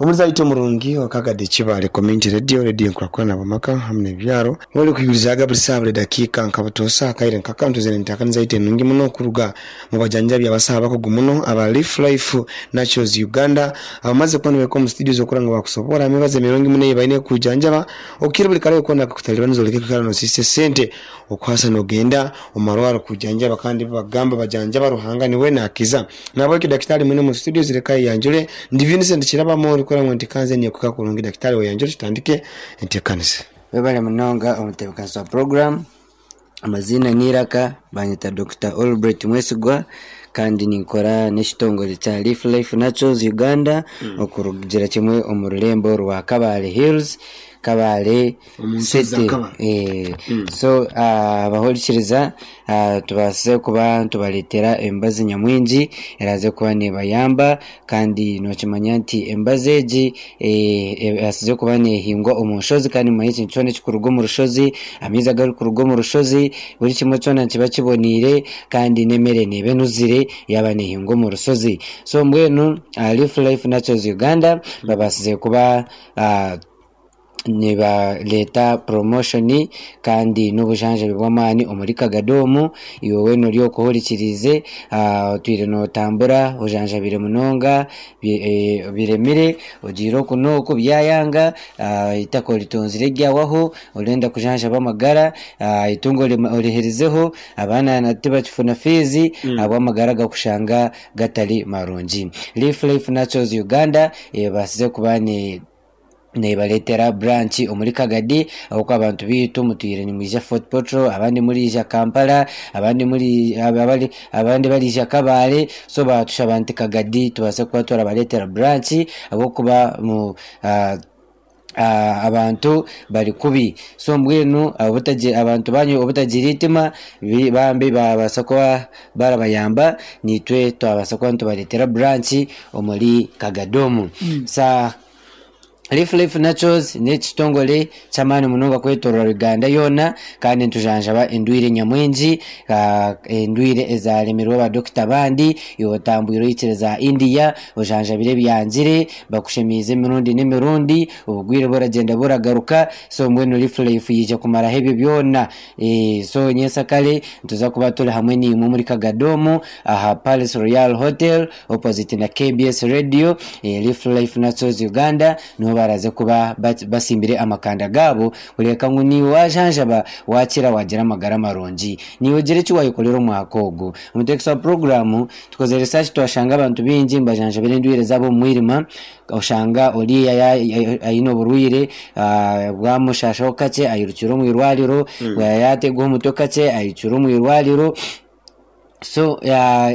Omuzaito omurungi owa Kagadi Kibaale Community Radio, Radio Enkurakurana Abamaka hamu n'ebyaro, webale kwigurizaaga buri saaha buri dakiika nka butoosa akaire nkaka nituza n'enteekaniza yaitu enungi muno kuruga mu bajanjabi abasaho abakugu muno aba Leaf Life Naturals Uganda abamaze kuba nibahika omu studios okura ngu bakusoboora emibazi emirungi muno ei baine kukujanjaba okukira buri kare koona akakutalibaniza oreke kwikara nosiisa esente okuhasa nogenda omu marwaro kujanjaba kandi bagamba bajanjaba Ruhanga niwe nakiza. Nahabwekyo dakitaali mwine omu studios leka ayeyanjure. Ndi Vincent Kirabamo orikukora ngu ntikanze nekuka kurungi. Dakitaali weyanjure tutandike enteekaniza. Webale munonga omutebekanisa wa puroguramu. Amaziina n'eiraka banyeta Dokita Albert Mwesigwa kandi ninkora n'ekitongore kya Leaf Life Naturals Uganda okurugira kimwe omu rurembo rwa Kabale Hills, Kabale Omu nsozi za City. Kabale. So abahurikiriza tubaasize kuba nitubareetera emibazi nyamwingi eraaze kuba neebayamba kandi nookimanya nti emibazi egi ebaasize kuba neehingwa omu nshozi kandi mumanye ekintu kyona ekirikuruga omu rushozi, amaizi agarikuruga omu rushozi, buri kimwe kyona nikiba kiboneire kandi n'emere neeba enuzire yaaba neehingwa omu rushozi. So mbwenu Leaf Life Naturals Uganda babaasize kuba Nibareeta promotion kandi n'obujanjabi bw'amaani omuri Kagadi omu. Iwe weena ori okwo ohurikiriize, otwire nootambura ojanjabire munonga biremire, ogiire oku n'oku byayanga, eitaka oritonzire ryawaho, orenda kujanjaba amagara, eitungo oriherizeho, abaana tibakifuna fiizi ahabw'amagara gakushanga gatari marungi. Leaf Life Naturals Uganda ebaasize kuba ne. Nebareetera branch omuri Kagadi ahabw'okuba abantu baitu mutwire nimwija Fort Portal abandi muriija Kampala abandi muri abandi bariija Kabale so baatushaba nti Kagadi tubaase kuba turabareetera branch ahabw'okuba abantu bari kubi. So mbwenu abantu banyu obutagira eitima bambi baabaasa kuba barabayamba naitwe twabaasa kuba nitubareetera branch omuri Kagadi omu. Leaf Life Naturals n'ekitongore ky'amaani munonga kwetorora Uganda yoona kandi nitujanjaba endwaire nyamwingi, endwaire ezaremirwe ba dokita abandi, iwe otambwire ohikire za India ojanjabire ebyangire, bakushemeize emirundi n'emirundi, obugwire buragyenda buragaruka, so mbwenu Leaf Life yaija kumaraho ebyo byona. So nyensakare nituza kuba turi hamwe naimwe omuri Kagadi omu aha Palace Royal Hotel opposite na KBS Radio, Leaf Life Naturals Uganda niho baraze kuba basimbire amakanda gaabo kureebeka ngu naiwe wajanjaba wakira wagira amagara marungi. Naiwe gira eki wayekorera omwaka ogu. Omuteekesa wa puroguraamu tukozire research twashanga abantu baingi nibajanjabira endwaire zaabo omu mwirima, oshanga oriya aine oburwaire bwamushashaho kakye airukire omu irwariro, yategwa omutwe kakye airukire omu irwariro. So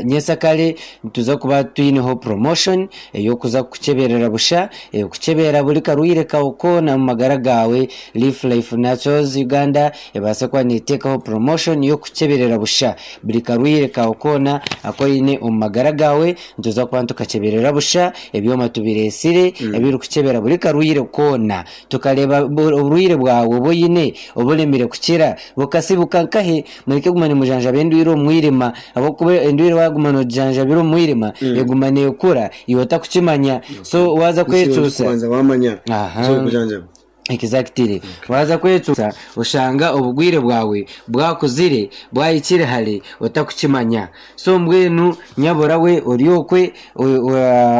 nyensakare nituza kuba twineho promotion ey'okuza kukukyeberera busha, kukyebera buri karwaire kaawe koona omu magara gaawe, Leaf Life Naturals Uganda ebaase kuba neteekaho promotion y'okukukyeberera busha buri karwaire kaawe koona aku oine omu magara gaawe, nituza kuba nitukakyeberera busha, ebyoma tubireetsire ebirikukyebera buri karwaire koona. Tukareeba oburwaire bwawe obu oine oburemire kukira bukasibuka nkahi? Mureke kuguma nimujanjaba endwaire omu mwirima ahabw'okuba endwaire waaguma noogijanjabira omu mwirima eguma neekura iwe otakukimanya. So waaza kwecuusa. Kubanza waamanya Aha. eki orikujanjaba. Exactly. Waaza kwecuusa oshanga obugwire bwawe bwakuzire bwahikire hare otakukimanya. So mbwenu nyabura we ori okwe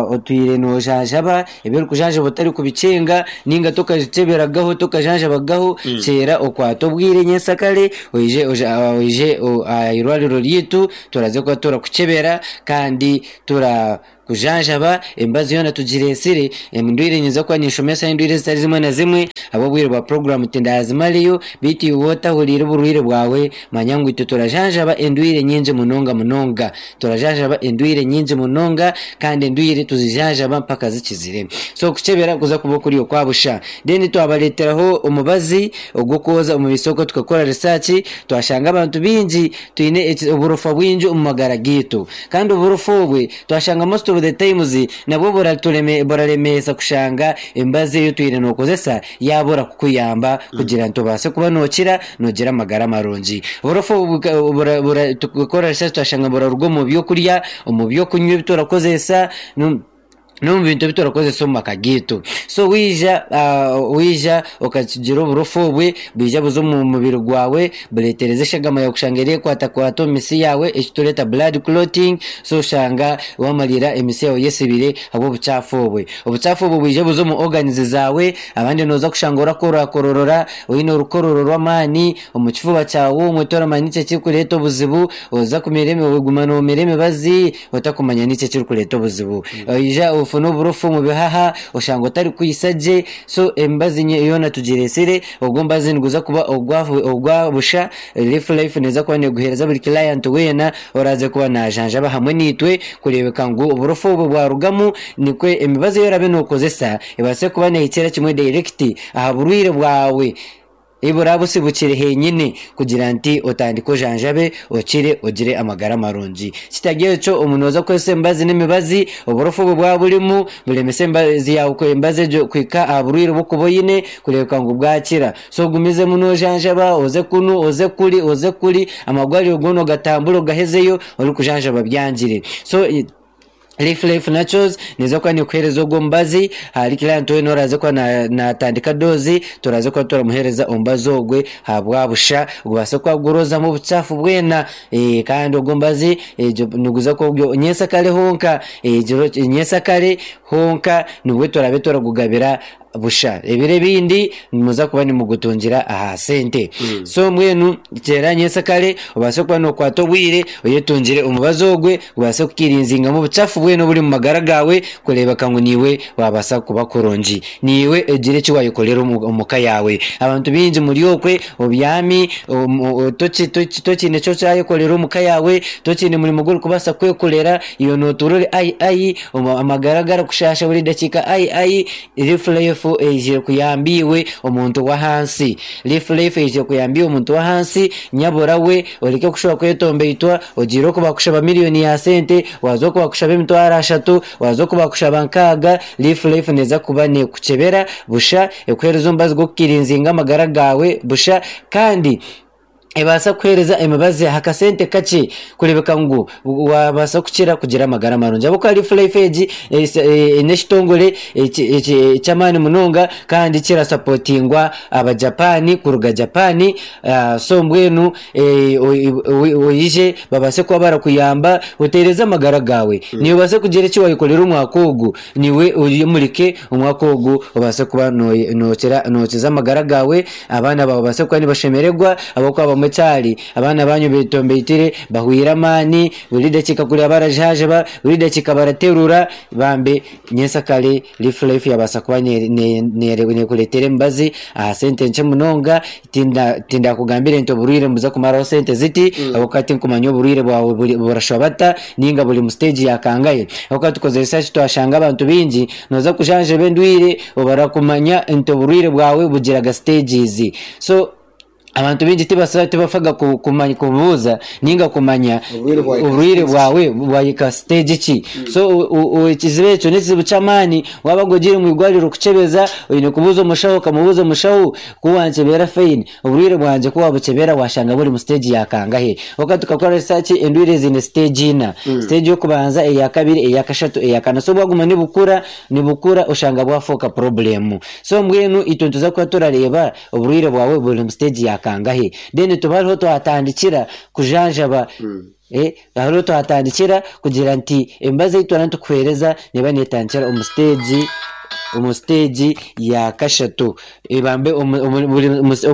otwire nojanjaba ebi orikujanjaba otarikubikyenga ninga tokakyeberagaho tokajanjabagaho kyera okwate obwire nyensakare oije oije aha irwariro ryaitu turaze kuba turakukyebera kandi tura Kujanjaba emibazi yoona tugireetsire, endwaire nyinza kuba ninshomesa endwaire ezitari zimwe na zimwe, ahabw'obwire bwa puroguraamu tindazimareyo, beitu iwe otahuriire oburwaire bwawe, manya ngu itwe turajanjaba endwaire nyingi munonga munonga. Turajanjaba endwaire nyingi munonga kandi endwaire tuzijanjaba mpaka zikizire. So okukyebera kuza kuba okuri okwa busha. Then twabareeteraho omubazi ogw'okwoza omu maisho okwo tukakora research twashanga abantu baingi twine oburofa bwingi omu magara gaitu. Kandi oburofa obwe Twashanga most of the times nabwo buraremeesa kushanga emibazi ei otwire nokozesa yabura kukuyamba kugira nti obaase kuba nokira nogira amagara marungi. Oburofa obu tukakora research twashanga buraruga omu byokurya, omu byokunywa ebi turakozesa. N'omu bintu ebi turikukozesa omu maka gaitu. So waija waija okakigira oburofa obwe, bwija buza omu mubiri gwawe, bureetereza eshagama yaawe kushanga ereekwatakwata omu mitsi yaawe, eki tureeta blood clotting, so oshanga waamariira emitsi yaawe eyesibire ahabw'obucaafu obwe. Obucaafu obwo bwija buza omu organs zaawe, abandi nooza kushanga orakorakororora, oine orukororo rw'amaani omu kifuba kyawe omwe toramanya niki ekirikureeta obuzibu, oza kumira oguma noomira emibazi, otakumanya niki ekirikureeta obuzibu. Oija ofune oburofa omu bihaha, oshanga otarikwitsa gye, so emibazi yoona tugireetsire, ogwo omubazi niguza kuba ogwa busha, Leaf Life neeza kuba neeguheereza buri client weena oraaze kuba naajanjaba hamwe naitwe kureebeka ngu oburofa obwo bwarugamu nikwo emibazi ei oraabe nookozesa ebaase kuba neehikira kimwe direct aha burwaire bwawe. Ebi buraabe busibukire henyine kugira nti otandike ojanjabe okire ogire amagara marungi. Kitari ekyo omu nooza kukozesa emibazi n'emibazi, oburofa obwo bwaba burimu buremese emibazi yaawe emibazi egyo kuhika aha burwaire obu orikuba oine kureebeka ngu bwakira. So ogumizemu noojanjaba oze kunu oze kuri oze kuri amarwariro goona ogatambure ogahezeyo orikujanjaba byangire. So. Leaf Life Naturals neeza kuba neekuheereza ogwo omubazi, ahari client weena oraaze kuba naatandika doozi, turaaze kuba turamuheereza omubazi ogwe ahabwa busha, gubaase kuba guroozamu obucaafu bwena kandi ogwo omubazi niguza kuba guri nyensakare honka, nyensakare honka nibwo turaabe turagugabira busha. Ebiro ebindi nimuza kuba nimugutungira aha sente. So mbwenu kyera nyensakare obaase kuba nokwata obwire oyetungire omubazi ogwe gubaase kukirinzingamu obuchafu bwena oburi omu magara gaawe kureebeka ngu niiwe wabaasa kuba kurungi. Niiwe ogire eki wayekorera omu ka yaawe. Abantu baingi muri okwe obyami tokiine eki okyayekorera omu ka yaawe, tokiine murimo ogu orikubaasa kwekorera, iwe notuura ori ayi ayi. Amagara garikushaasha buri dakiika ai ai Life Life eizire kuyamba iwe omuntu w'ahansi Life Life eizire kuyamba iwe omuntu w'ahansi Nyabura we oreke kushuba kwetombeitwa ogiire oku bakushaba miriyoni ya sente waaza oku bakushaba emitwaro ashatu waaza oku bakushaba nkaaga Life Life neeza kuba neekukyebera busha ekuheereze omubazi gw'okukirinzinga amagara gaawe busha kandi ebaasa kukuheereza emibazi aha kasente kakye kureebeka ngu waabaasa kukira kugira amagara marungi. Ahabw'okuba Life Life egi n'ekitongore ky'amaani munonga kandi kirasapotingwa Abajapaani kuruga Japan. So mbwenu oije babaase kuba barakuyamba oteereze amagara gaawe. Naiwe obaase kugira eki waayekorera omwaka ogu. Niiwe oyemurike omwaka ogu obaase kuba nookiza amagara gaawe, abaana baawe babaase kuba nibashemererwa ahabw'okuba bamwe kyari abaana baanyu beetombeitire, bahweire amaani, buri dakiika kuriya barajaajaba, buri dakiika baraterura, bambe nyensakare Life Life yaabaasa kuba neekureetera emibazi aha sente nkye munonga. Tindakugambire nti oburwaire nibuza kumaraho sente ziti ahabw'okuba tinkumanya oburwaire bwawe burashwa bata ninga buri mu siteegi ya kangahe. Ahabw'okuba tukozire research twashanga abantu baingi nooza kujanjaba endwaire obarakumanya nti oburwaire bwawe bugiraga siteegizi. So abantu baingi tibafaga kubuuza ninga kumanya oburwaire bwawe bwahika siteegi ki. So ekizibu ekyo n'ekizibu ky'amaani waaba ogiire omu irwariro kukyebeza oine kubuuza omushaho okamubuuza omushaho Ku wankyebera fine, oburwaire bwangye ku wabukyebera washanga buri mu stage ya kangahe? Kwonka tukakora research endwaire ziine stage ina. Stage y'okubanza, eya kabiri, eya kashatu, eya kana. So bwaguma nibukura, nibukura oshanga bwafooka problem. So mbwenu itwe nituza kuba turareeba oburwaire bwawe buri mu stage ya kangahe. Then tube hariho twatandikira kujanjaba. Hariho twatandikira kugira nti emibazi ei twaba nitukuheereza neeba neetandikira omu siteegi omu siteegi ya kashatu ebambe oba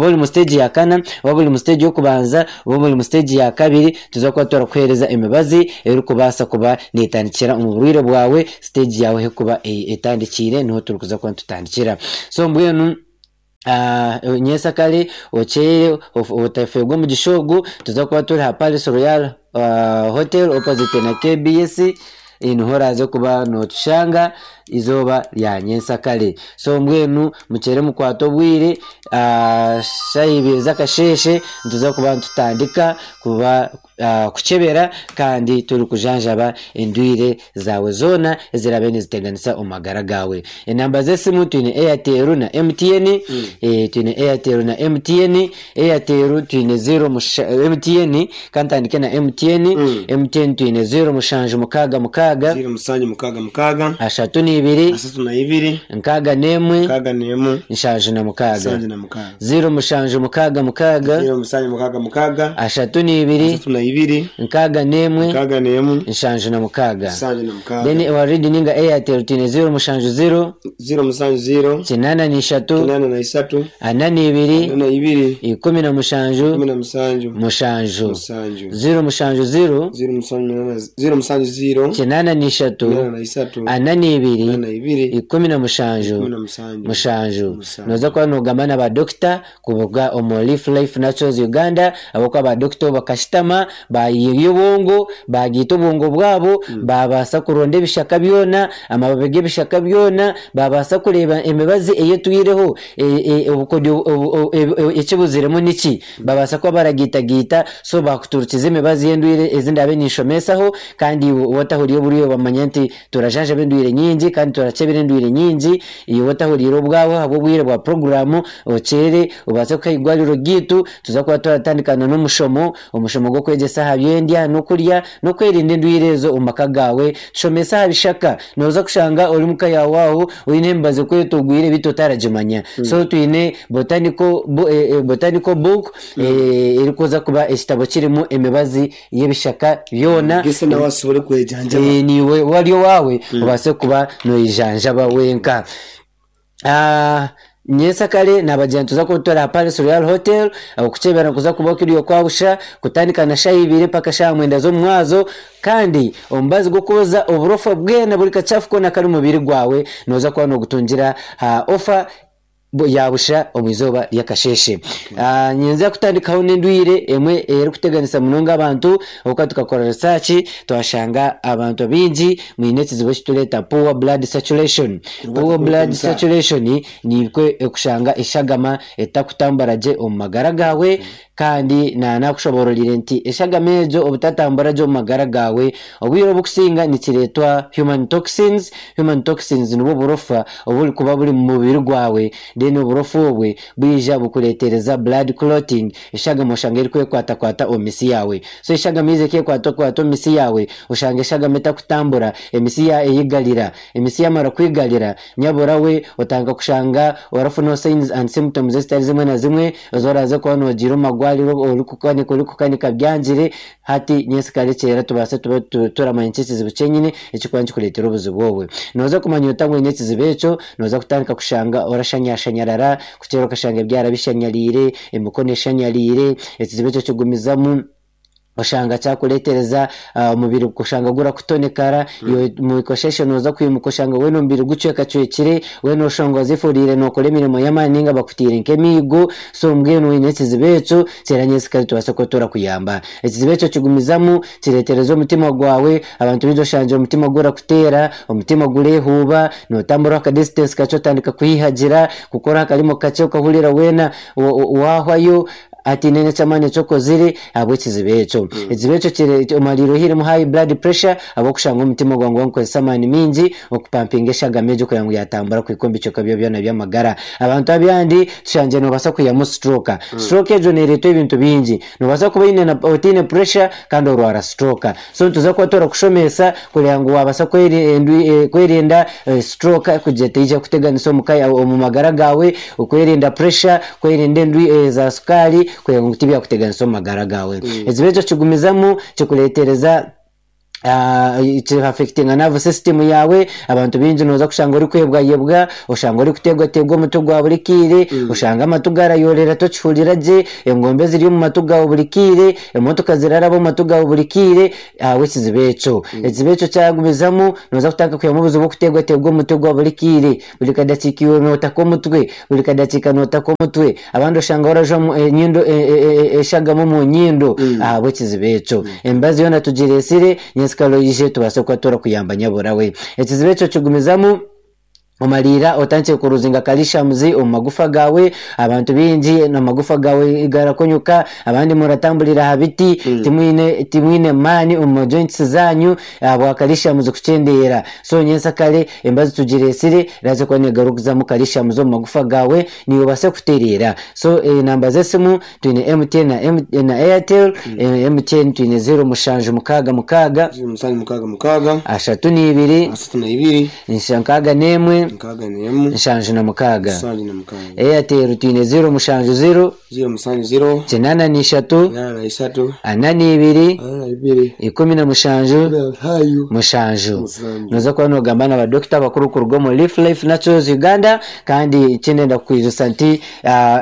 ori omu siteegi ya kana oba ori omu siteegi y'okubanza oba ori omu siteegi ya kabiri nituza kuba turakuheereza emibazi erikubaasa kuba neetandikira omu burwaire bwawe siteegi yaawe ahu erikuba etandikiire niho turikuza kuba nitutandikira. So mbwenu. Nyensakare okyeire otafeerwa omugisha ogu, nituza kuba turi aha Palace Royal Hotel opposite na KBS niho oraaze kuba nootushanga eizooba rya nyensakare. So mbwenu mukyere mukwate obwire, shaaha ibiri z'akasheeshe nituza kuba nitutandika kuba kukyebera kandi turikujanjaba endwire zaawe zoona eziraabe niziteganisa omu magara gaawe. Enamba z'esimu twine Airtel na MTN, twine Airtel na MTN, Airtel twine ziro MTN, ka ntandike na MTN, MTN twine 0766. mukaaga, 0766, 32, 32, 61, 61, 76. 76. 0766, 0766, 32, 32, 61, 61, 76. 76. Then ewa Read ninga Airtel twine 070, 070, 83, 83, 42, 42, 17, 17, 7. 7. 070, 070, 83, 83, 42, 42, 17, 17, 7. 7. Noza kuba nogamba na badokita kuruga omu Leaf Life Naturals Uganda, ahabw'okuba badokita obu bakashutama bayiha obwongo, bagiita obwongo bwabo, babaasa kuronda ebishaka byona, amababi g'ebishaka byona, babaasa kureeba emibazi eyetwireho, obukodyo ekibuziremu niki, babaasa kuba baragiitagiita, so bakuturukiza emibazi y'endwire ezi ndabe ninshomesaho, kandi iwe otahuriire oburyo bamanya nti turajanjaba endwire nyingi kandi turakebera endwire nyingi. Iwe otahuriire obwawe ahabw'obwire bwa puroguramu okyere obaase kuha eigwariro ryaitu, tuza kuba turatandikana n'omushomo, omushomo gw'okwegyesa aha byendya n'okurya n'okwerinda endwire ezo omu maka gaawe. Tushomese aha bishaka, nooza kushanga ori muka yaawe aho oine emibazi kwetogwire beitu otaragimanya. So twine botanical, botanical book, erikuza kuba ekitabo kirimu emibazi y'ebishaka byona. Gese nawe asobole kwejanjaba. Niiwe wari owaawe obaase kuba noijanjaba wenka. Nyensakare nabagira nituza kuba turi aha Palace Royal Hotel, okukyebera nikuza kuba kuri okwabusha, kutandika na shaaha ibiri mpaka shaaha mwenda z'omumwazo, kandi omubazi gw'okwoza oburofa bwena buri kachafu koona kari omu mubiri gwawe nooza kuba noogutungira aha ofa yabusha omu izooba ry'akasheeshe. Ninza kutandikaho n'endwire emwe erikuteganisa munonga abantu, ahabw'okuba tukakora research twashanga abantu baingi mwine ekizibu ekitureeta poor blood saturation. Poor blood saturation nikwo okushanga eshagama etakutambura gye omu magara gaawe, kandi nanakushoboororire nti eshagama egyo obutatambura gye omu magara gaawe obwire obukusinga nikireetwa human toxins. Human toxins nibwo burofa oburikuba buri omu mubiri gwawe, then oburofa obwe bwija bukureetereza blood clotting, eshagama oshanga erikwekwatakwata omu misi yaawe. So eshagama yiija ekekwatakwata omu misi yaawe, oshanga eshagama etakutambura, emisi eyigarira, emisi yamara kwigarira nyabura we otandika kushanga orafuna signs and symptoms ezitari zimwe na zimwe ezi oraze kuba nogira omu magwariro orikukanika orikukanika byangire. Hati nyensikare kyera tubaase tube turamanya nki ekizibu kyenyine ekikuba nikikureetera obuzibu obwe. Nooza kumanya ota ngu oine ekizibu ekyo, nooza kutandika kushanga orashanyashanyarara, kukyera okashanga ebyara bishanyariire, emikono eshanyariire, ekizibu ekyo kigumizamu oshanga kyakureetereza omubiri kushanga gurakutonekara, iwe omukasheshe nooza kwimuka oshanga weena omubiri gucwekacwekire, weena oshanga ozifuriire nookora emirimo y'amaani ninga bakutaire nk'emiigo, so mbwenu oine ekizibu ekyo kyera nyensikare tubaase kuba turakuyamba. Ekizibu ekyo kigumizamu kireetereza omutima gwawe, abantu baingi oshangire omutima gurakuteera, omutima gureehuuba, nootambura aka distance kakye otandika kuhihagira, kukora akarimo kakye okahurira weena waahwayo, hataine n'eky'amaani eki okozire ahabw'ekizibu ekyo. Ekizibu ekyo kire omariire ohairemu high blood pressure ahabw'okushanga omutima gwawe niguba nigukozesa amaani maingi okupampinga eshagama egyo kureba ngu yatambura kuhika omu bicweka byawe byona by'amagara. Abantu abandi tushangire noobaasa kwihamu stroke. Stroke egyo neereetwa ebintu bingi. Noobaasa kuba oine na otaine pressure kandi orwara stroke. So nituza kuba turakushomesa kureba ngu wabaasa kwerinda stroke kugira teija kuteganisa omu magara gaawe, okwerinda pressure, kwerinda endwi za sukaari kureba ngu tibyakuteganisa omu magara gaawe. Ekizibu ekyo kigumizamu kikureetereza kihafectinga nerve system yaawe. Abantu baingi nooza kushanga orikwebwayebwa, oshanga orikuteegwateegwa omutwe gwa buri kaire, oshanga amatu garayorera tokihurira gye, engombe ziri omu matu gaawe buri kaire, emotoka ziraraba omu matu gaawe buri kaire ahabw'ekizibu ekyo. Ekizibu ekyo kyagumizamu nooza kutandika kwihamu obuzibu bw'okuteegwateegwa omutwe gwa buri kaire, buri kadakiika iwe nootaka omutwe, buri kadakiika nootaka omutwe, abandi oshanga orajwa enyindo eshagama omu nyindo ahabw'ekizibu ekyo. Emibazi yoona tugireetsire, nyensikare oije tubaase kuba turakuyamba nyabura we. Ekizibu ekyo kigumizamu. Omariira otandikire kuruzinga kalishamuzi omu magufa gaawe. Abantu baingi amagufa gaawe garakonyuka, abandi muratamburira aha biti, timwine timwine maani omu joints zaanyu ahabwa kalishamuzi kukyendeera. So nyensakare embazi tugireetsire erabaasa kuba negaruzamu kalishamuzi omu magufa gaawe naiwe obaase kutereera. So enamba z'esimu twine MTN na M na Airtel, MTN twine zeero mushanju mukaaga mukaaga, Zeero mushanju mukaaga mukaaga, ashatu n'ibiri, ashatu na ibiri, 61 61 76. 76. Airtel twine zeero mushanju zeero, 0 7 0 83 83 42 42 17 17 7. 7. Noza kuba nogamba na badokita abakuru kuruga omu Leaf Life Naturals Uganda kandi ekindi kukwijusa nti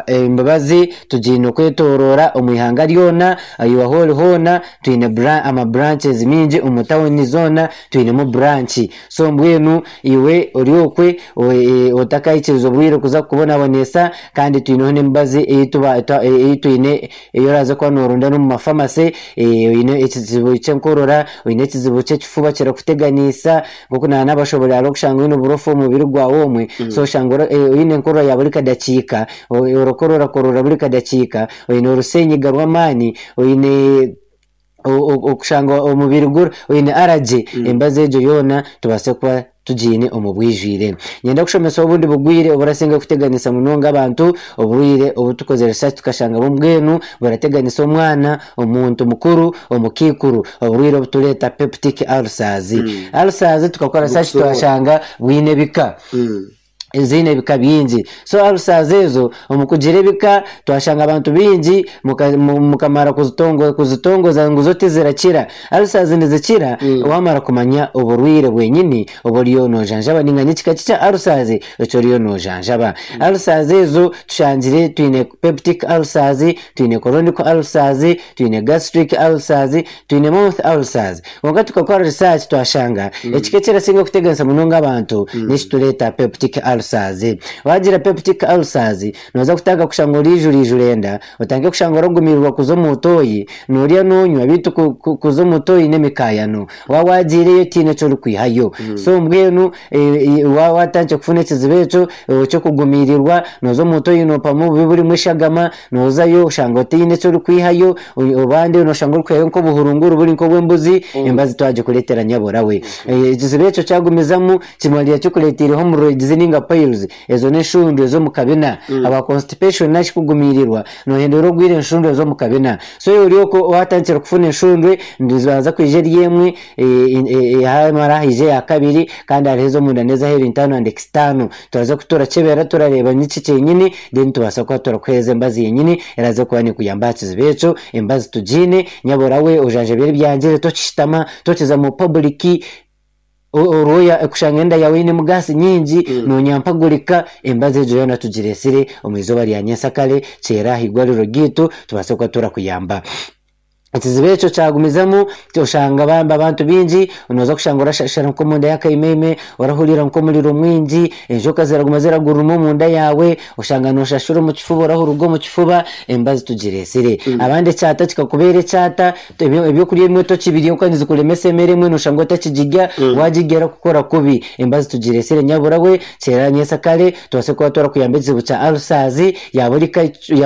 embabazi tugiine okwetoroora omu ihanga ryona iwe ahu ori hoona twine ama branches mingi omu tawuni zoona twinemu branch so mbwenu iwe ori okwe otakahikiriza obwire kuza kukubonabonesa kandi twineho n'emibazi ei twine ei oraaze kuba nooronda n'omu mafamasi oine ekizibu ky'enkorora oine ekizibu ky'ekifuba kirakuteganiisa nk'oku naanabashoboorora hariho okushanga oine oburofa omu mubiri gwawe omwe so oshanga oine enkorora ya buri kadakiika orakorora korora buri kadakiika oine orusenyiga rw'amaani oine okushanga omubiri oine allergy embazi egyo yoona tubaase kuba tugiine omu bwijwire. Niinyenda kushomesa obundi bugwire oburasinga kuteganisa munonga abantu, oburwaire obu tukozire research tukashanga mbwenu burateganisa omwana, omuntu mukuru, omukaikuru, oburwaire obu tureeta peptic ulcers. Ulcers tukakora research twashanga bwine ebika. Ziine ebika bingi. So ulcers ezo omu kugira ebika twashanga abantu baingi mukamara kuzitongoza ngu zo tizirakira. Ulcers nizikira wamara kumanya oburwaire bwenyini obu oriyo nojanjaba ninga n'ekika ki kya ulcers eki oriyo nojanjaba. Ulcers ezo tushangire twine peptic ulcers, twine chronic ulcers, twine gastric ulcers, twine mouth ulcers. Kwonka tukakora research twashanga ekika ekirasinga kuteganisa munonga abantu n'ekitureeta peptic ulcers. Wagira peptic ulcers nooza kutandika kushanga oriijura enda, otandike kushanga oragumirwa kuza omu toyi, noorya noonywa beitu kuza omu toyi n'emikaayano. Waaba waagiireyo tihaine eki orikwihayo. So mbwenu waaba watandikire kufuna ekizibu ekyo eky'okugumiirirwa, nooza omu toyi noopamu obubi burimu eshagama, noozayo oshanga otaine eki orikwihayo, abandi nooshanga orikwihayo nk'obuhurunguru buri nk'obw'embuzi, embazi twagikureetera nyabura we. Ekizibu ekyo kyagumizamu kimariira kikureeteireho hemorrhoids ninga piles, ezo n'enshundu ez'omu kabina. Ahabwa constipation nari shi kugumiirirwa, noohendera ogwire enshundu ez'omu kabina. So ori okwo waatandikire kufuna enshundwe, nizibanza kwija eri emwe, hamara haija eya kabiri kandi hariho ez'omunda n'ez'aheeru internal and external. Turaza turakyebera turareeba niki kyenyini then tubaasa kuba turakuheereza embazi yenyini eraaze kuba neekuyamba aha kizibu ekyo. Embazi tugiine, nyabura we ojanjabe ebyangire tokishutama, tokiza mu public, orwoya kushanga enda yaawe einemu gaasi nyingi noonyampagurika, embazi egyo yoona tugireetsire omu izooba rya nyensakare kyera aha igwariro ryaitu tubaase kuba turakuyamba. Ekizibu ekyo kyagumizamu oshanga bambi abantu baingi nooza kushanga orashashara nk'omunda y'akaimeime, orahurira nk'omuriro mwingi, enjoka ziraguma ziraguruma omunda yaawe, oshanga nooshashura omu kifuba orahuruga omu kifuba, embazi tugireetsire. Abandi ekyata kikakubeera ekyata, ebyokurya ebimwe tokibirya ahabw'okuba nizikuremesa emere emwe nooshanga otakigirya, waagirya erakukora kubi. Embazi tugireetsire nyabura we, kyera nyensakare tubaase kuba turakuyamba ekizibu kya ulcers ya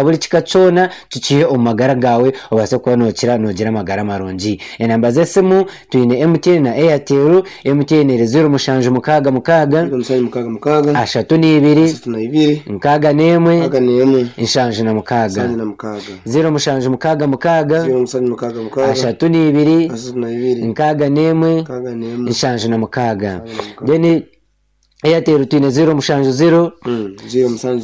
buri kika kyona tukihe omu magara gaawe obaase kuba nookira noogira amagara marungi. Enamba z'esimu twine MTN na Airtel, MTN eri 0766 0766 32 32 61 61 76. 76 0766 0766 32 32 61 61 76. Then Airtel twine 070 070 83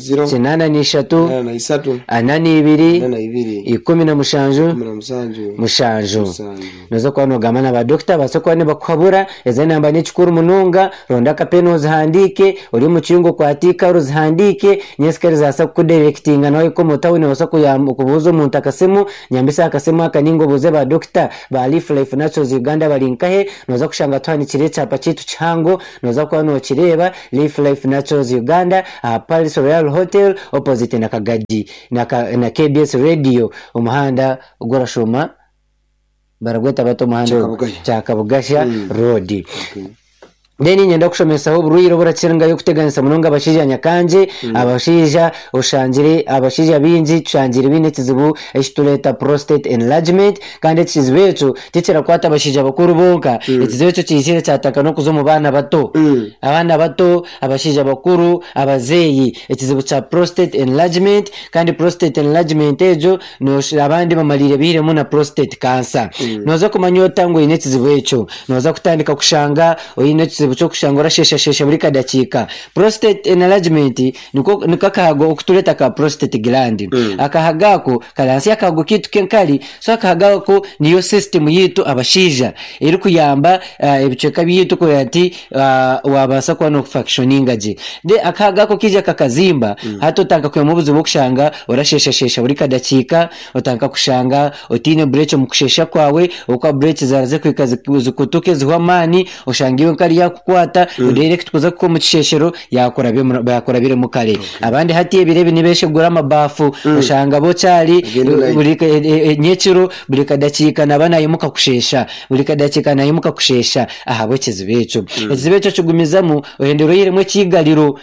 83 42 42 17 17 7. 7. Nooza kuba noogamba na badokita babaase kuba nibakuhabura, ezo enamba n'ekikuru munonga, ronda akapeni ozihandiike, ori omu kiyungu okwate eikaro ozihandiike, nyensikare zibaasa kukudirectinga nawe omu tawuni noobaasa kubuuza omuntu akasimu, nyambisa aha kasimu aka ninga obuuze ba dokita ba Leaf Life Naturals Uganda bari nkahe, nooza kushanga tuhanikire ekyapa kyaitu kihango, nooza kuba nookireeba Leaf Life Naturals Uganda aha Palace Royal Hotel opposite na Kagadi na, na KBS Radio omuhanda ogurashuuma baragweta bata omuhanda ogu? Kyakabugasha. Kyakabugasha Road. Okay. Then niinyenda kushomesaho oburwaire oburakirangayo kuteganisa munonga abashaija nyakangye. Abashaija oshangire abashaija baingi tushangire baine ekizibu eki tureeta prostate enlargement kandi ekizibu ekyo tikirakwata abashaija bakuru bonka, ekizibu ekyo kiizire kyatandika n'okuza omu baana bato. Abaana bato, abashaija bakuru, abazeeyi, ekizibu kya prostate enlargement kandi prostate enlargement egyo abandi bamariire bairemu na prostate cancer. Nooza kumanya ota ngu oine ekizibu ekyo? Nooza kutandika kushanga oine ekizibu ky'okushanga orasheeshasheesha buri kadakiika. Prostate enlargement niko niko akahago oku tureeta ka prostate gland. Akahago ako kari ahansi y'akahago kaitu k'enkari, so akahago ako niyo system yaitu abashaija erikuyamba ebicweka byaitu kureba nti waabaasa kuba noofunctioninga gye. Then akahago ako kaija kakazimba, hati otandika kwihamu obuzibu bw'okushanga orasheeshasheesha buri kadakiika, Otandika kushanga otaine bureeki omu kusheesha kwawe, ahabw'okuba bureeki zaaraza kuhika zikutuke zihwe amaani, oshange iwe nkari yaakukwata, direct kuza kuhika omu kisheeshero yaakurabiremu kare. Abandi hati ebiro ebi nibeeshegura amabaafu, oshanga bo kyari buri nyekiro buri kadakiika naaba naimuka kusheesha, buri kadakiika naimuka kusheesha ahabw'ekizibu ekyo. Ekizibu ekyo kigumizamu ohendera oihiremu ekiigariro.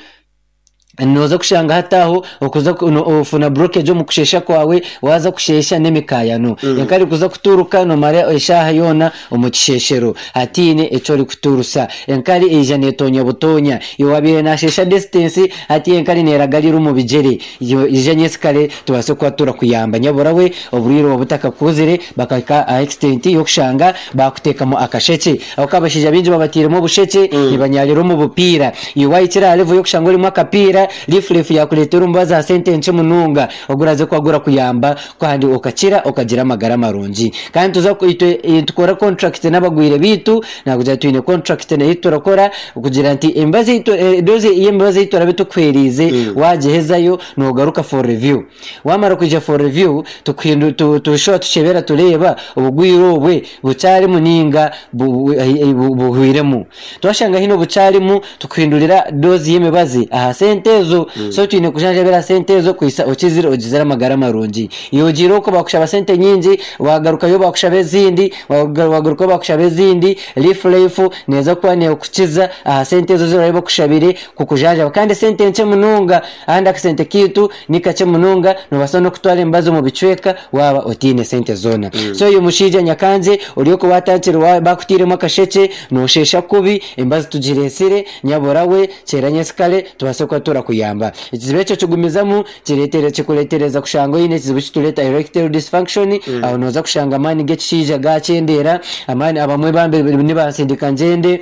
Nooza kushanga hati aho okuza ofuna blockage omu kusheesha kwawe, waaza kusheesha n'emikaayano. Enkari kuza kuturuka noomara eshaaha yoona omu kisheeshero hataine eki orikuturusa. Enkari eija neetoonya butoonya. Iwe waabaire naasheesha distance, hati enkari neeragarira omu bigyere. Ija nyensikare tubaase kuba turakuyamba. Nyabura we oburwaire obu butakakuzire bakahika aha extent y'okushanga baakuteekamu akashekye. Ahabw'okuba abashaija baingi babatairemu obushekye nibanyaarira omu bupiira. Iwe waahikire aha level y'okushanga orimu akapiira, life life yaakureetera omubazi aha sente nkye munonga oguraaze kuba gurakuyamba kandi okakira okagira amagara marungi. Kandi nituza itwe nitukora contract n'abagwire baitu, naakugira twine contract ei turakora kugira nti emibazi ei tu dose y'emibazi ei turaabe tukuheereize waagihezayo noogaruka for review. Waamara kwija for review tukuhindu tushuba tukyebera tureeba obugwire obwe bukyarimu ninga buhwiremu. Twashanga haine obukyarimu tukuhindurira dose y'emibazi aha sente ezo. So twine kujanjabira aha sente ezo kuhitsya okizire ogizire amagara marungi. Iwe ogiire okwo bakushaba sente nyingi wagarukayo bakushaba ezindi, wagarukayo bakushaba ezindi, life life neeza kuba neekukiza aha sente ezo ezi barabe bakushabire kukujanjaba kandi esente nkye munonga. Ahandi akasente kaitu ni kakye munonga, noobaasa n'okutwara emibazi omu bicweka waaba otaine sente zoona. So oyo mushaija nyakangye ori okwo waatandikire bakutairemu akashekye, noosheesha kubi, emibazi tugireetsire, nyabura we, kyera nyensikare tubaase kuba turakuyamba. Ekizibu ekyo kigumizamu kireetere kikureetereza kushanga oine ekizibu eki tureeta erectile dysfunction, aho nooza kushanga amaani g'ekishaija gaakyendeera, amaani abamwe bambi nibansindika ngyende.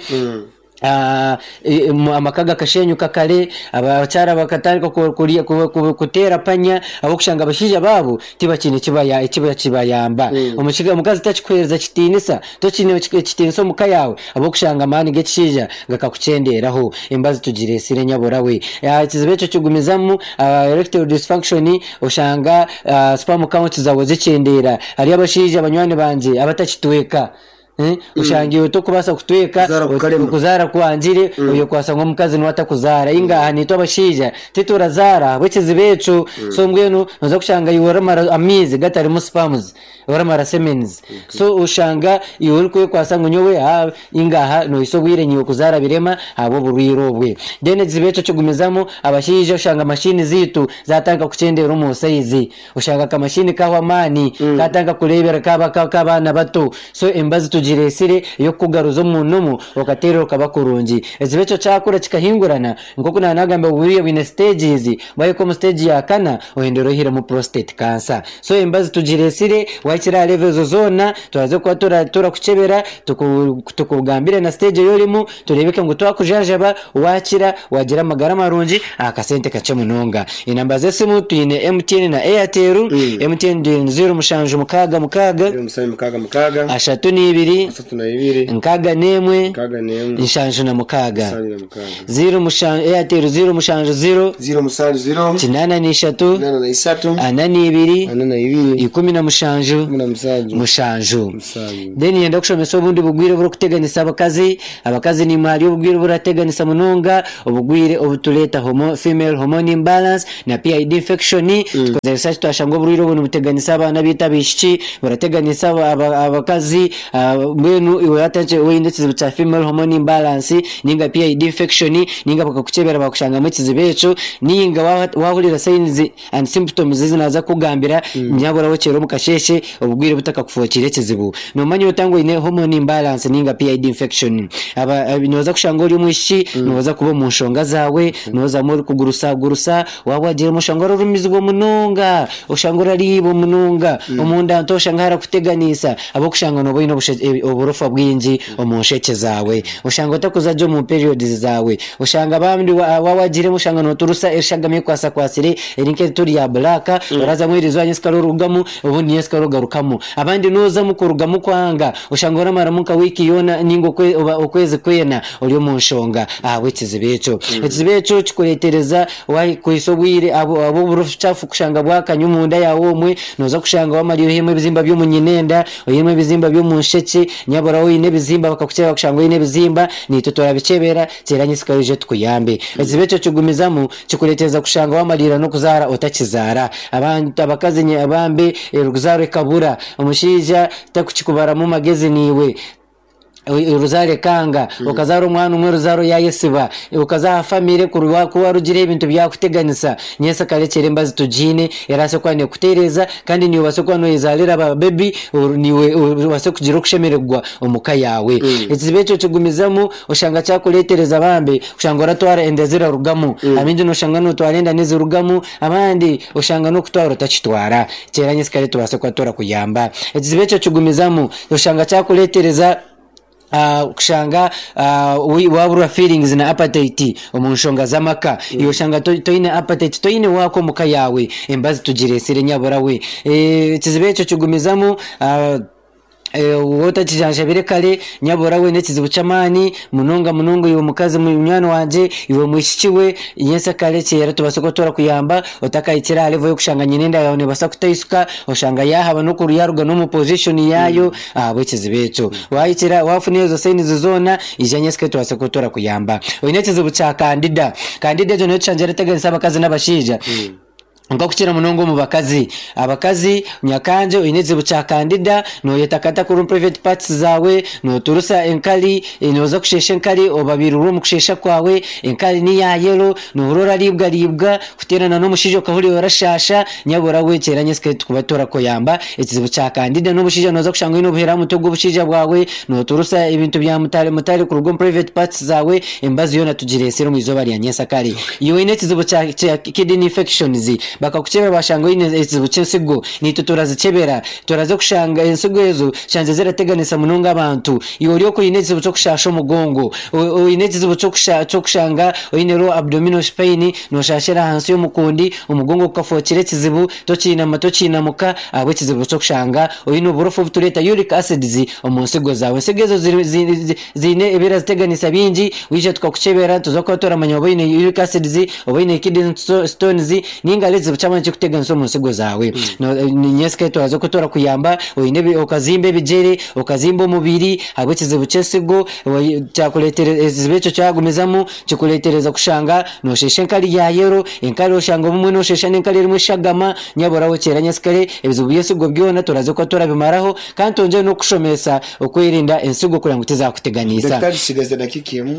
Amaka gakashenyuka kare, abakyara bakatandika kuteera panya ahabw'okushanga abashaija baabo tibakiine ekibayamba. Omukazi takikuheereza kitiinisa, tokiine kitiinisa omu ka yaawe ahabw'okushanga amaani g'ekishaija gakakukyendeeraho. Embazi tugireetsire nyabura we. Ekizibu ekyo kigumizamu erectile dysfunction oshanga sperm count zaawe zikyendeera. Hariyo abashaija banywani bangye abatakitweka. Oshanga iwe tokubaasa kutweka, Kuzaara kukarema. okuzaara kwangire, oyekwasa ngu omukazi niwe atakuzaara. Inga naitwe abashaija titurazaara ahabw'ekizibu ekyo. So mbwenu noza kushanga iwe oramara amaizi gatarimu sperms, oramara semens. So oshanga iwe orikwekwasa ngu nyowe inga aha nohitsya obwire nyowe kuzaara birema ahabw'oburwaire obwe. Then ekizibu ekyo kigumizamu, abashaija oshanga mashini zaitu zatandika kukyendeera omu size. Oshanga akamashini kahwa amaani, katandika kureebera kaba nk'abaana bato. So emibazi tugireetsire ey'okukugaruza omu nomu okateerera okaba kurungi. Ekizibu ekyo kyakura kikahingurana, nk'oku naaba naagamba buriya bwine stages, waahika omu stage ya kana ohendera oihiremu prostate cancer. So emibazi tugireetsire, waahikire aha level ezo zoona, turaza kuba turakukyebera, tukugambire na stage ei orimu, Tureebeke ngu twakujanjaba, waakira, waagira amagara marungi aha kasente kakye munonga. Enamba z'esimu twine MTN na Airtel. MTN twine 0766 0766 32 32 61 61 76. 76. Airtel 070 070 83 83 42 42 17 17 7. 7. Then niinyenda kushomesa obundi bugwire oburikuteganisa abakazi. Abakazi naimwe hariyo obugwire oburateganisa munonga, obugwire obutureeta homo female hormone imbalance na PID infection. Tukozire research twashanga oburwaire obu nibuteganisa abaana baitu abaishiki, burateganisa abakazi. Mbwenu iwe waatandikire oine ekizibu kya female hormone imbalance ninga PID infection ninga bakakukyebera baakushangamu ekizibu ekyo ninga waahurira signs and symptoms ezi naaza kukugambira nyabura wokyere omu kasheeshe obugwire butakakufookire ekizibu. Noomanya ota ngu oine hormone imbalance ninga PID infection? Nooza kushanga ori omwishiki nooza kuba omu nshonga zaawe, noozamu orikugurusagurusa, Waaba wagiiremu oshanga orarumizibwa munonga, oshanga orariibwa munonga, omunda nto oshanga harakuteganiisa ahabw'okushanga nooba oine oburofa bwingi omu nshekye zaawe. Oshanga otakuza gye omu periods zaawe. Oshanga abandi waaba wagiiremu oshanga nooturusa eshagama ekwasakwatsire eri nk'eturi ya black, orazamu eriizooba nyensikare orugamu obundi nyensikare ogarukamu. Abandi noozamu kurugamu kwanga, oshanga oramaramu nka wiiki yoona ninga okwezi kwena ori omu nshonga ahabw'ekizibu ekyo. Ekizibu ekyo kikureetereza Waahikuhitsya obwire ahabw'obucaafu kushanga bwakanya omunda yaawe omwe, nooza kushanga waamariire oihemu ebizimba by'omu nyinenda, oihemu ebizimba by'omu nshekye, nyabura oine ebizimba bakakukyebera bakushanga oine ebizimba, naitwe turabikyebera, kyera nyitsika oije tukuyambe. Ekizibu ekyo kigumizamu kikureetereza kushanga waamariira n'okuzaara otakizaara. Abantu abakazi bambi oruzaaro ekabura, omushaija takukikubaramu magezi naiwe. Oruzaaro ekanga, okazaara omwana omwe oruzaaro yaayesiba, okaza aha famire ku warugireho ebintu byakuteganisa, nyensi akarekyera embazi tugiine erabaasa kuba neekutereeza kandi naiwe obaase kuba nooyezaarira ba bebi naiwe obaase kugira okushemererwa omu ka yaawe. Ekizibu ekyo kigumizamu oshanga kyakureetereza bambi kushanga oratwara enda zirarugamu, abaingi nooshanga nootwara enda nizirugamu, abandi oshanga n'okutwara otakitwara. Kyera nyensi kare tubaase kuba turakuyamba. Ekizibu ekyo kigumizamu. Oshanga kyakureetereza kushanga waaburwa feelings na appetite omu nshonga z'amaka. Iwe oshanga toine appetite, toine waaka omu ka yaawe. Embazi tugireetsire nyabura we. Ekizibu ekyo kigumizamu waaba otakijanjabire kare nyabura we n'ekizibu ky'amaani munonga munonga iwe mukazi munywani wangye, iwe mwishiki we, nyentsya kare kyera tubaase kuba turakuyamba otakahikire aha level y'okushanga nyina enda yaawe neebaasa kutaisuka. Oshanga yaahaba n'oku yaaruga n'omu position yaayo ahabw'ekizibu ekyo. Waahikira waafuna ezo signs zoona, ija nyesike tubaase kuba turakuyamba. Oine ekizibu kya candida. Candida egyo niyo tushangire erateganisa abakazi n'abashaija. Nk'okukira munonga omu bakazi. Abakazi, nyakangye oine ekizibu kya candida, nooyetakata kuri omu private parts zaawe, nooturusa enkari, nooza kusheesha enkari obabirirwe omu kusheesha kwawe, enkari ni ya yellow, noohurira orariibwariibwa, Kuteerana n'omushaija okahurira orashaasha, nyabura we kyera nyesike tukuba turakoyamba ekizibu kya kandida n'obushaija noza kushanga oine obuheera aha mutwe gw'obushaija bwawe, noturusa ebintu bya mutare mutare kuruga omu private parts zaawe, emibazi yoona tugireetsire omu izooba rya nyensakare. Iwe oine ekizibu kya kya kidney infections, bakakukyebera bashanga oine ekizibu ky'ensigo, naitwe turazikyebera, turaza kushanga ensigo ezo shanze zirateganisa munonga abantu. Iwe ori oku oine ekizibu ky'okushaasha omugongo, oine ekizibu ky'okushanga oine low abdominal pain, Nooshaashira ahansi y'omukundi, omugongo gukafookire ekizibu, tokiinama tokiinamuka ahabw'ekizibu ky'okushanga oine oburofa obutureeta uric acids omu nsigo zaawe. Ensigo ezo ziine ebiraziteganisa bingi, waija tukakukyebera nituza kuba turamanya oba oine uric acids, oba oine kidney stones ninga hariho ekizibu ky'amaani ekirikuteganisa omu nsigo zaawe. Nyentsya turaza kuba turakuyamba, oine okazimba ebigyere, okazimba omubiri ahabw'ekizibu ky'ensigo, kyakureetera ekizibu ekyo kyagumizamu Kikureetereza kushanga noosheesha enkari ya yero, enkari oshanga obumwe noosheesha n'enkari erimu eshagama, nyabura okyera nyasikare, ebizibu by'ensigo byona turaze kuba turabimaraho kandi twongyere n'okukushomesa okwerinda ensigo kureba ngu tizakuteganiisa. Daktari tutsigaze dakiika emwe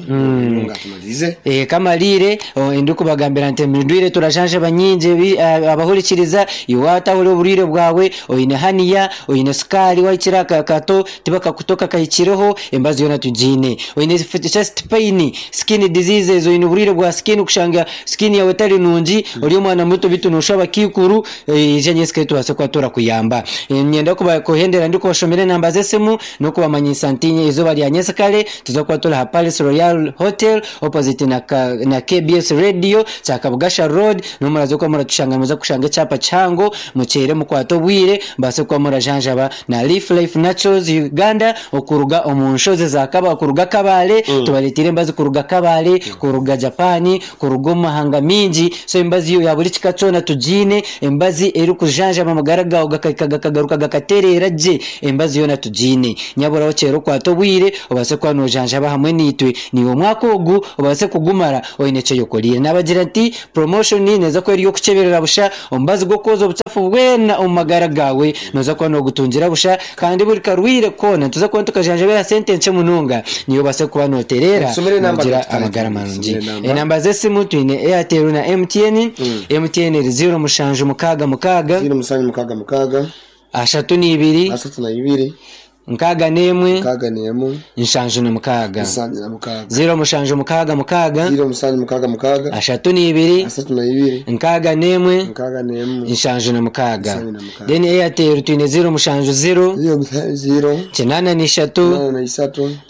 ngu atumalirize. Kamariire ndikubagambira nti endwaire turajanjaba nyingi abahurikiriza, iwe waatahura oburwaire bwawe, oine haniya, oine sukaari wahikire aha kato tibakakuta okakahikireho, emibazi yoona tugiine. Oine chest pain, skin diseases, oine oburwaire bwa skin kushanga skin yaawe etari nungi, ori omwana muto beitu nooshusha abakaikuru, ija nyentsya tubaase kuba turakuyamba. Niinyenda kuhendera ndikubashomera enamba z'esimu n'okubamanyisa nti eizooba rya nyentsya nituza kuba turi aha Palace Royal Hotel opposite na KBS Radio, Kyakabugasha Road, niho muraza kuba muratushanga nimuza kushanga ekyapa kihango, mukyere mukwate obwire mubaase kuba murajanjaba na Leaf Life Naturals Uganda okuruga omu nshozi za Kaba kuruga Kabale tubareteire embazi kuruga Kabale kuruga Japan kuruga omu mahanga mingi so emibazi yo ya buri kika kyona tugiine emibazi erikujanjaba amagara gaawe gakahika gakagaruka gakatereera gye emibazi yoona tugiine nyabura okyere okwate obwire obaase kuba nojanjaba hamwe naitwe naiwe omwaka ogu obaase kugumara oine eki oyekoreire nabagira nti promotion neeza kuba eri ey'okukyeberera. nogutungira busha. Omubazi gw'okwoza obuchafu bwena omu magara gaawe noza kuba nogutungira busha kandi buri karwaire koona nituza kuba nitukajanjabira aha sente nkye munonga niiwe obaase kuba notereera Tusomere enamba nogira Dokita amagara Tusomere marungi. enamba. Enamba z'esimu twine Airtel na MTN. MTN eri 0766 0766 32 32 61 61 76. 76 0766 0766 32 32 61 61 76. 76. Then Airtel twine 070 0 83 83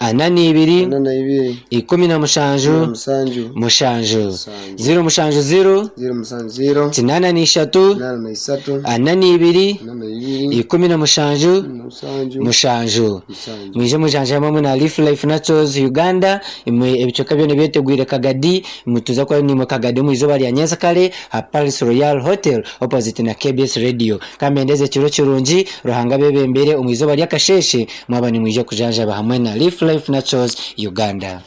42 42 17 7 7 Musanju. 070 070 83 83 42 42 17 7 7. Musanju. Mwije mujanjabe hamwe na Leaf Life Naturals Uganda. Imwe ebicweka byona byetegwire Kagadi, mutuza kuba nimwe Kagadi omu izooba rya nyentsakare aha Paris Royal Hotel opposite na KBS Radio. Kambendeze ekiro kirungi, Ruhanga abebembere omu izooba ry'akasheeshe mwaba nimwija kujanjaba hamwe na Leaf Life Naturals Uganda.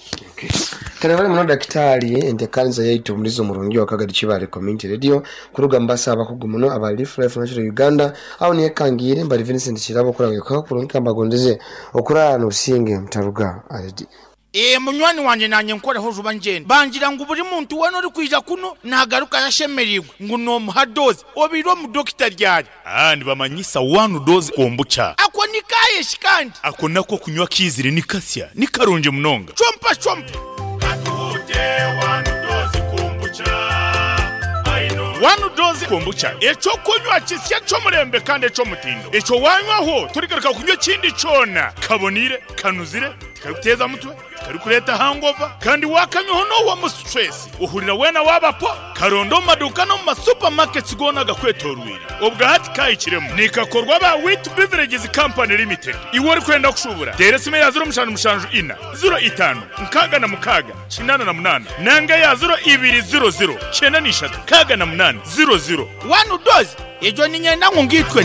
Kare bali muno dakitari entekanisa yaitu mulizo murungi wa Kagadi Kibale Community Radio kuruga mbasa abakugu muno aba Leaf Life Natural Uganda aho niyekangiire mbali Vincent Kirabo kuranga kwa kurungi kambagondeze okurara n'obusinge mutaruga already. Ee munywani wanje nanye nkoreho juba ngenda bangira ngu buri muntu wena ori kwija kuno nagaruka yashemereirwe ngu nomuha doze obiire omu dokita ryari. Aa nibamanyisa one dose kombucha. Ako ni kayeshi kandi. Ako nako kunywa kiizire ni kasya ni karungi munonga. Chompa chompa. Katuhute one dose kombucha. One dose kombucha ekyokunywa kisya ky'omurembe kandi eky'omutindo ekyo wanywaho torigaruka kunywa ekindi kyona kabonire kanuzire tikarikuteeza mutwe tikarikureeta hangover kandi wakanywaho n'owa mu stress ohurira weena wabapo karonda omu maduuka n'omu masupermarkets goona agakwetorwire obwa hati kahikiremu nikakorwa ba Wheat Beverages Company Limited. Iwe orikwenda kushubura teera esimu ya 0774 05 66 88 nanga ya 0200 93 68 00. One dose egyo niinyenda ngu ngiitwe.